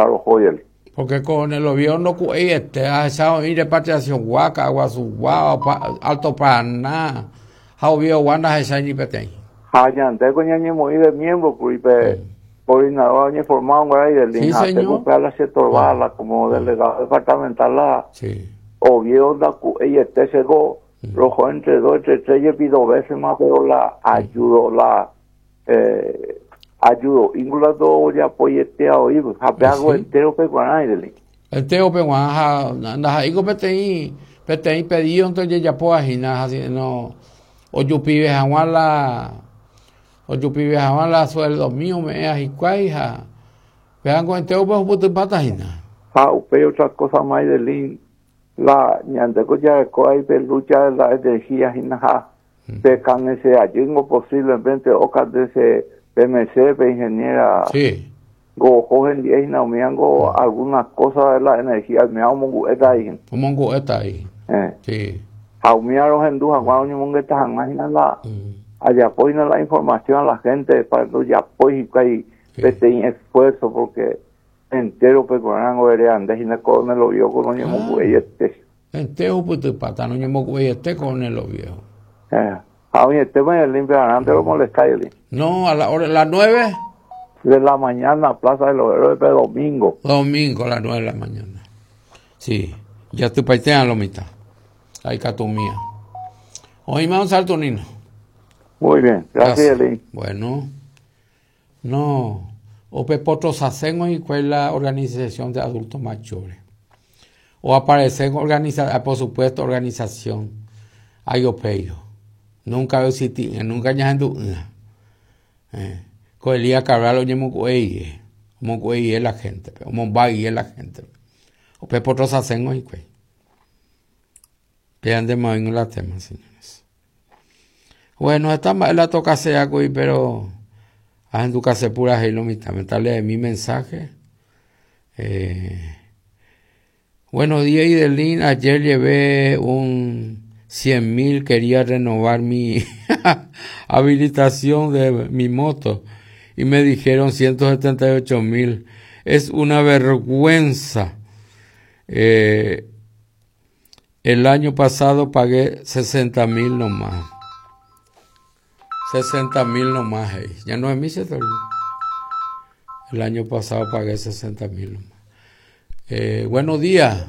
regular ohójel. Porque con el Oviedo ndoku'eiete, ahecha oĩ repatriación-gua, Ka'aguasugua, Alto Paraná, ha Oviedo-gua ndahechái ni peteĩ. Ha ñandéko ñañemoĩ de miembro kuri pe coordinadora oñeformado guarái del Sí, ha señor. tengo que la che torba la como delegado departamental la Sí. Oviedo ndaku'eiete cheko roho entre dos entre tres jepi dos veces más pero la ayudo la eh, ayudo íngula ndojapoietea oĩ ha pe algo Sí. entero pe guarái del Entero-pe g̃uarã ha ndaha'éiko peteĩ peteĩ pedido-nte ojejapóva hína ha sino ojupive hag̃ua la ojupive hag̃ua la sueldomi ome'ẽva hikuái ha pévango entero-pe ohupytypáta hína. Ha upéi otra cosa Maydelin la ñandéko jareko ahí pe lucha de la energía hína ha pe kanese ajýngo posiblemente okandese PMC pe ingeniera Sí. ngo oho hendie hína umíango alguna cosa de la energía umía omongu'éta ahí hína. Omongu'éta ahí. Eh. Sí. Ha umía rohendu hag̃ua oñomongeta hag̃ua hína la ajapo hína la información a la gente para ndojapói hikuái Sí. peteĩ esfuerzo porque entero pe g̃uarãngo ereande hína Coronel Oviedo ko noñemongu'eiete. Entero ohupytypáta noñemongu'eiete Coronel Oviedo. Eh. Ha oĩete Maydelin pevarãnte romolesta Maydelin. No, a la hora, las 9 De la mañana, Plaza de los Héroes, pe domingo. Domingo a las 9 de la mañana. Sí, ya tupaitéa lo mitad. Ahí catumía. Oíme un salto, Nino. Muy bien, gracias, Maydelin. Bueno, no. Ope potrosacen hikuái la organización de adultos mayores. O aparecen organiza, ah, por supuesto, organización Ayopeyo. Nunca existí, nunca ñahendu'ỹ. Eh, ko Elías Cabral oñemongu'eie, omongu'eie la gente, omombáyie la gente. Ope potrosacen hikuái. Péa ndéma oĩngo la tema, señores. Bueno, esta mba'e la tokasea kuri, pero ahendukase purahéi lo mitãme. Tal mi mensaje. Eh, buenos días, Idelín. Ayer llevé un 100.000, quería renovar mi habilitación de mi moto y me dijeron 178.000. Es una vergüenza. Eh, el año pasado pagué 60.000 nomás. 60.000 nomás, hey. Ya no es mi sector. El año pasado pagué 60.000 nomás. Eh, buenos días.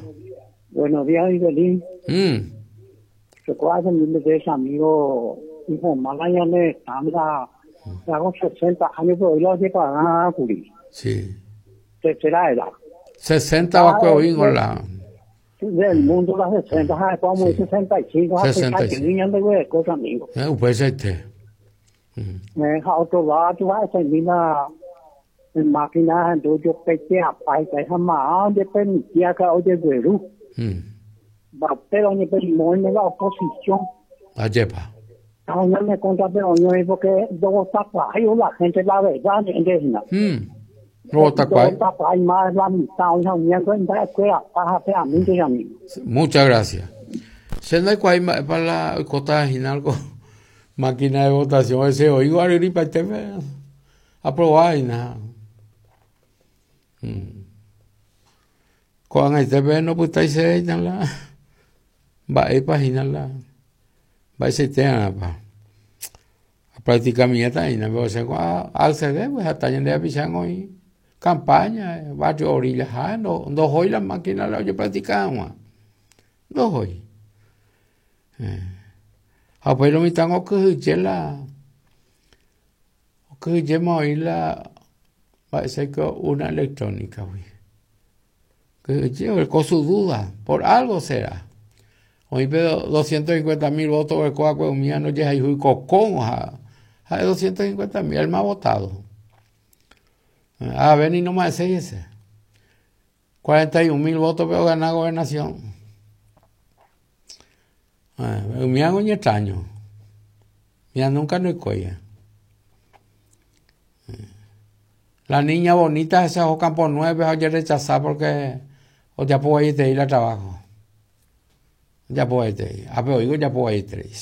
Buenos días, Idelín. Mm. Recuerdo de ese amigo, hijo, mala ya le están hago 60 años, pero hoy lo hace para curi. Sí. Tercera edad. 60 va a la. Del mundo las 60, ¿sabes? Como Sí. 65, 65. niños de cosas, amigo. Eh, pues este. Me deja otro lado, vas a terminar en máquina, entonces yo peché a paisa, esa más, donde permitía que oye, Perú. Va, pero ni en la oposición. Ayepa. No, no me conta, pero no es porque dos tapas, la gente la verdad, ¿entiendes? No, tacuay. Dos tapas, más la mitad, una mierda, en la escuela, pásate a mí, amigo. Muchas gracias. Se no hay para la cota de máquina de votación, ese oigo arriba este aprobar y nada. Ko'ág̃a itépe ndopytaisevéina la mba'épa hína la mba'eichaitéarãpa. Apracticamiéta hína pero chéko aaccede pues heta ñande rapicha oĩ campaña barrio orillaha ndohói la máquina la ojepractica hag̃ua ndohói. Ha upéi lo mitã okyhyje la okyhyjéma oĩ la mba'éichaiko urna electrónica-gui. Kyhyje oreko su duda, por algo será. Oĩ pe 250.000 votos oreko va'ekue umíva ndojehayhúi kokón ha ha'e 250.000, el más votado. Avave ni noma'ẽséi hese. 41.000 votos-pe ogana gobernación. Umíva oñetraño. Umíva nunca ndoikói. La niña bonita esa oho Campo 9 ha ojerechasa porque ojapo vaieterei la trabajo. Ojapo vaieterei. Ápe oĩko ojapo vaieterei.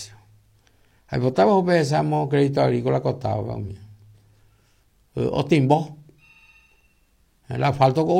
Aipotáva upe hesamo crédito agrícola costado-pe umíva. Otimbo. El asfalto ko